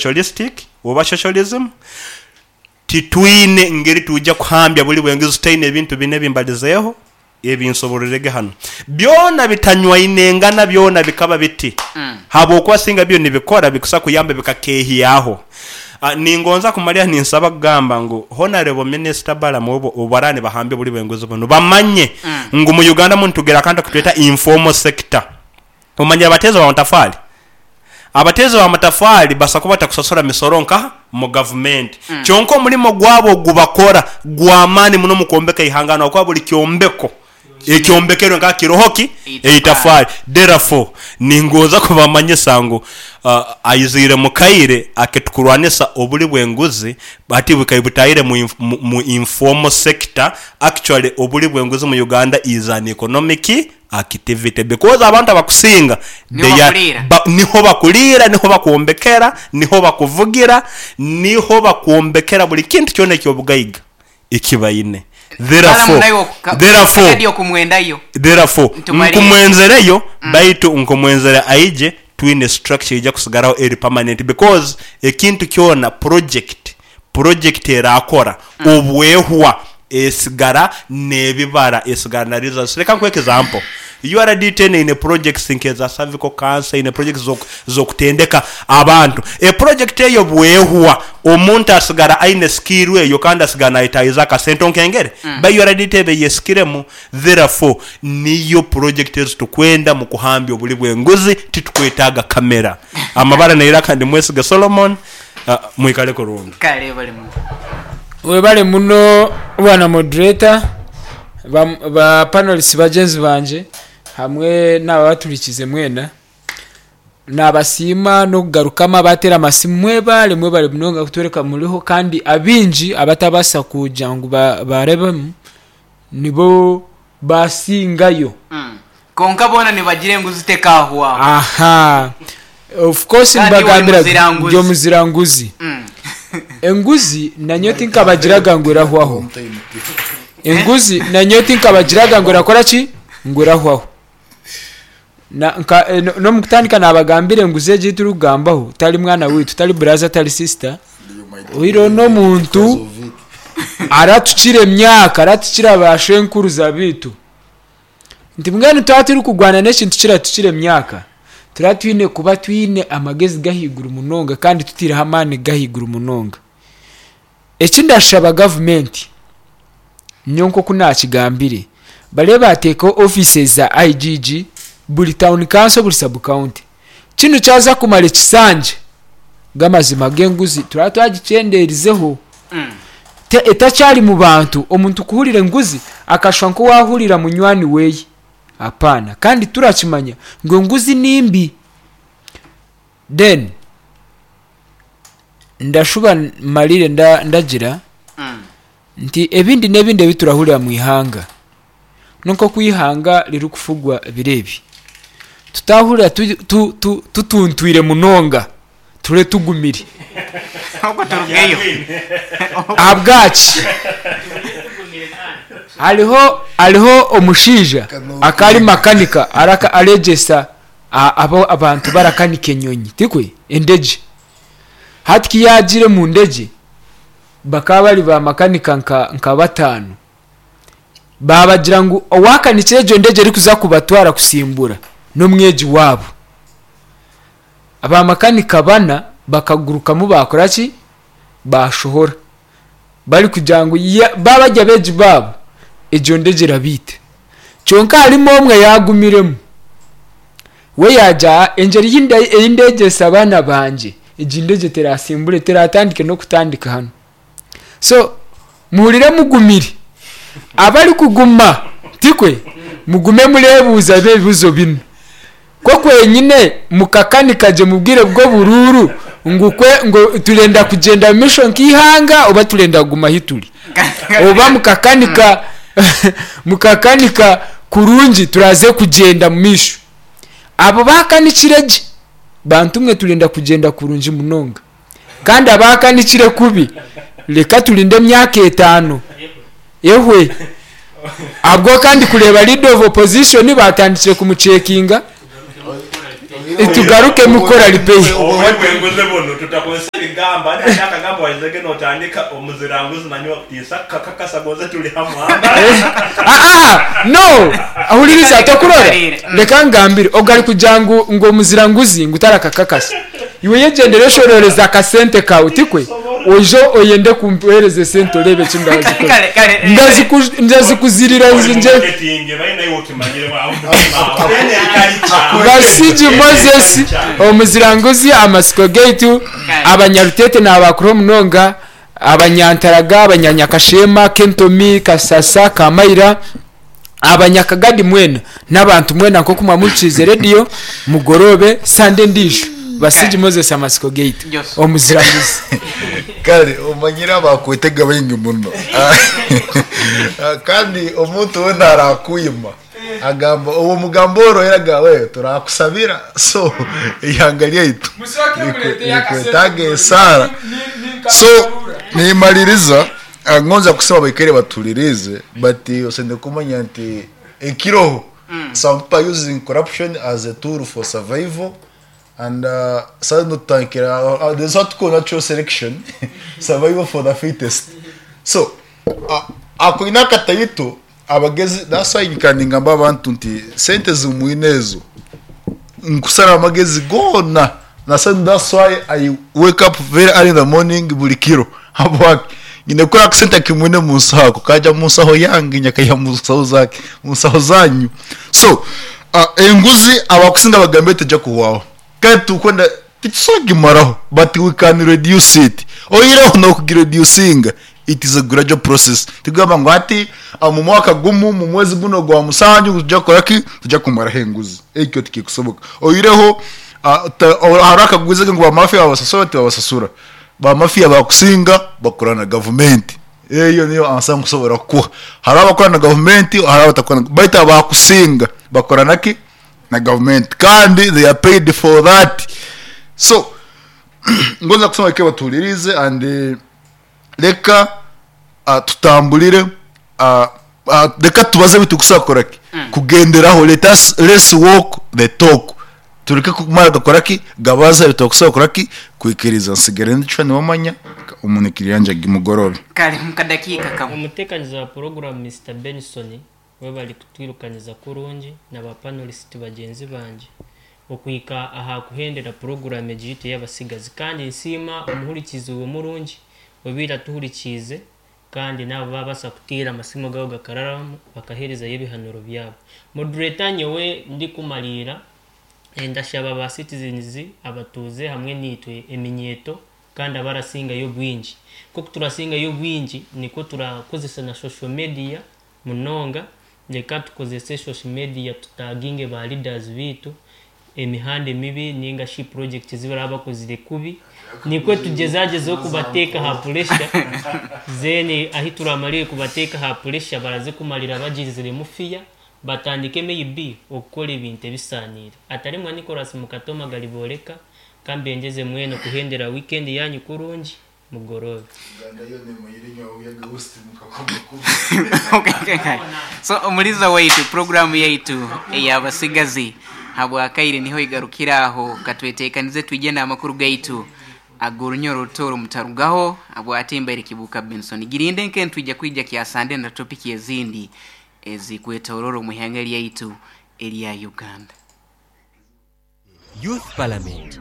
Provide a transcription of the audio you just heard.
socialistic oba socialism. Titwine ngeri twija kuhambya buli bwenguzi tutaine ebintu bino ebi mbalizeeho, ebi nsobororege hanu. Byona bitanywainengana byona bikaba biti, habwokuba singa byo nibikora bikusa kuyamba bikakeehyaho. Ningonza kumalira ninsaba kugamba ngu Honourable Minister Balaam obu baraba nibahambya obuli bwenguzi bunu, bamanye ngu mu Uganda munu tugira akantu akutweta informal sector. Omanyire abateezi b'amatafaali? Abateezi b'amatafaali basobola kuba batakusasura misoro nkaha? Mu gavumenti. Kyonka omurimo gwabo ogu bakora gw'amaani muno omu kwombeka eihanga hanu ahabw'okuba buri kyombeko ekyombekerwe nkaha kiroho ki? Eitafaali. Therefore, ningonza kubamanyisa ngu aiziire mu kaire akitukurwanisa oburi bw'enguzi hati bukaire butaahire mu informal sector. Actually oburi bw'enguzi mu Uganda is an economic Activity because abantu abakusinga Niho they are bakuriira. ba niho bakuriira, niho bakwombekera, niho bakuvugira, niho bakwombekera buri kintu kyona eky'obugaiga eki baine. Balamu Therefore, naiwe okuka- therefore, kadi okumwendayo. therefore Ntumalire. nkumwenzereyo baitu nkumwenzere aije twine structure eija kusigaraho eri permanent because ekintu kyona project project erakora obwehwa esigara nebibara esigara na results. Leka nkuhe example, URDT eno eine projects nkeza cervical cancer, eine projects zokutendeka abantu. E project eyo bwehwa omuntu asigara aine skill eyo kandi asigara nayetayiza akasente onkengere? Ba URDT eba eyesikiremu. Therefore niyo project ezitukwenda mukuhambya obuli bwenguzi titukwetaga camera. Amabara neiraka ndi Mwesiga Solomon. Mwikale kurungi. Kale webale muno. Webale muno bwana moderator, ba ba panelists bagyenzi bangye hamwe naabo abaturikize mwena. Nabasiima n'okugarukamu abateera amasimu mwebale mwebale munonga kutworeka muriho kandi abaingi abatabaasa kugira ngu barebemu nibo basingayo. Kwonka boona nibagira enguzi tekahwaho. Aha. Of course Kandi iwe ori nibagambira muziranguzi. ndi omuziranguzi. Enguzi nanyowe tinkabagiraga ngu erahwaho. Enguzi nanyowe tinkabagiraga ngu erakora ki? Ngu erahwaho. Na nka eh, no- n'omu kutandika naabagambira enguzi egi ei turikugambaho tari mwana waitu, tari buraza, tari sisita, oihireho n'omuntu aratukira emyaka, aratukira baashwenkuruza baitu. Nti mbwenu twaba turikurwana n'ekintu kiratukira emyaka, turaba twine kuba twine amagezi g'ahaiguru munonga kandi tutaireho amaani g'ahaiguru munonga. Eki ndashaba gavumenti, nyowe nk'oku naakigambire, barebe baateekaho offices za IGG buri town council buri sub county. Kinu kyaza kumara ekisanja, g'amazima g'enguzi turaba twagikyendeerizeho. Etakyari mu bantu, omuntu kuhurira enguzi akashusha nk'owaahurira munywani weye. Apaana. Kandi turakimanya ngu enguzi ni mbi. Then ndashuba mmarire ndagira nti ebindi n'ebindi ebi turahurira mu ihanga n'oku eihanga ririkufugwa biro ebi, tutaahurira tutuntwire munonga ture tugumire. Ahabwaki? Hariho hariho omushaija akaba ari makanika areegyesa abantu barakanika enyonyi, tikwe? Endegye. Hati ku yaagiire omu ndegye, bakaba bari baamakanika nka bataano. Baabagira ngu owaakanikire egyo ndegye erikuza kubatwara kutsimbura n'omwegi waabo. Baamakanika bana bakagurukamu baakora ki? Baashohora. Barikugira ngu baaba bari abeegi baabo, egyo ndegye erabaita. Kyonka harimu omwe yaagumiremu. We yaagira ati, Engyeri ei ndeegyesa abaana bangye, egi ndegye teratsimbure, teratandike n'okutandika hanu. So, muhurire mugumire. Abarikuguma, tikwe? Mugume mureebuuza ebibuuzo binu. Kwo kwenyine mukakanika gye mu bwire bw'oburuuru ngu kwe ngu turenda kugyenda mu maisho nk'eihanga oba turenda kuguma ahi turi? Oba mukakanika mukakanika kurungi turaze kugyenda mu maisho? Abo baakanikire gye, bantu mwe turenda kugyenda kurungi munonga. Kandi abaakanikire kubi, reka turinde emyaka etaano ehwe. Ahabw'okuba ndikureeba leader of opposition baatandikire kumucekinga. Tugarukemu kukora repair. Oburi bw'enguzi bunu tutakozesa ebigambo hati hati akagambo waizege notandika omuziranguzi nanyowe akutiisa kakakasa gonze turi hamwe Aa no ahuririza tokurora reka nkugambire ogu arikugira ngu ngu omuziranguzi ngu tarakakakasa iwe yegyendere oshororeze akasente kawe tikwe oije oyende kumpereza esente oreebe eki ndazikora ndazikuzirira nje Basigi Moses omuziranguzi amatsiko gaitu abanyarutete nabakuraho munonga Abanyantaraga, Abanyanyakasheema, Kentomi, Kasasa, Kamaira, Abanyakagadi mwena n'abantu mwena nk'oku mwamuhurikiize rediyo mugoroobe Sande endiijo. Basigi Moses amatsiko gaitu. Omuziranguzi. Kare omanyire abakwetega baingi muno kandi omuntu weena arakuyima agamba obu omugamba orohire agamba we turakusabira so eihanga ryaitu rikwetaaga esaara so nimaririza ngonza kusaba abaikaire batuhuririize but oshemereire kumanya nti ekiroho some people are using corruption as a tool for survival and saha zinu tutandikira there's what we call natural selection survival for the fittest so ako oine akatayito Abagezi that's why nyikara ningamba abantu nti sente zimwine ezo nkusara amagezi goona na that's why I wake up very early in the morning buri kiro habwaki nyine kukora akasente akimwine munsaho ako kaja munsaho yange nyakaiha munsaho zake munsaho zanyu so enguzi abakusinga bagambire teja kuhwaho kandi titukwenda titusobola kugimaraho but we can reduce it oihireho nokugireducinga It is a gradual process. Tikugamba ngu hati omu mwaka gumu, omu mwezi gunu ogwa musanju ngu nituja kukora ki? Nituja kumaraho enguzi. Ekyo tikikusoboka. Oihireho hariho akagwizi ngu ba mafia babasasura, tibabasasura. Ba mafia bakusinga bakora na gavumenti. Eyo niyo ansa nkusobora kukuha. Hariho abakora na gavumenti, hariho abatakora na baitu abakusinga bakora na ki? Na gavumenti. Kandi they are paid for that. So ngonza kusaba bakye batuhuririize and Reka tutamburire, reka tubaze ebi turikubaasa kukora ki? Kugenderaho, let us, let's walk the talk. Tureke kumara gakora ki? Gabaza ebi turakubaasa kukora ki? Kwikiriza. Nsigare ndicwa niwamanya, omunikiri yangye gimugorobe. Kare omu kadakiika kamwe. Omuteekaniza wa puroguraamu Mister Benson Webale kutwirukaniza kurungi na ba panelisiti bagyenzi bangye okuhika aha kuhendera puroguraamu egi yaitu ey'abatsigazi. Kandi nsiima omuhurikiizi we murungi obaire atuhurikiize kandi naabo baabaasa kuteera amasimu gaabo gakararamu bakaheerezayo ebihanuro byabo. Moderator nyowe ndikumariira ndashaba ba citizens abatuuze hamwe naitwe eminyeeto kandi abarasingayo obwingi. Nk'oku turasingayo obwingi nikwo turakozesa na social media munonga, reka tukozese social media tutaginge ba leaders beitu emihanda emibi ninga shi project ezi baraba bakozire kubi nikwo tugyezagyezeho kubateeka aha pressure then ahi turamarire kubateeka aha pressure baraze kumarira bagiriziremu fear batandike may be okukora ebintu ebisaaniire. Atarimwa Nicholas Mukatoma Garibooreka kambengyeze mwena okuhendera weekend yanyu kurungi. Mugoroobe. Uganda yoona emanyire enywa buyaga host mukakoma kubi. So omuliza waitu puroguramu yaitu ey'abasigazi habwakaire niho egarukira aho katwetekanize twije n'amakuru gaitu ag'orunyoro orutooro mutarugaho habwati mbaire Kibuuka Benson girinde nke nitwija kwija kyasande na topiki ezindi ezikwetoroora omu ihanga lyaitu erya Uganda. Youth Parliament.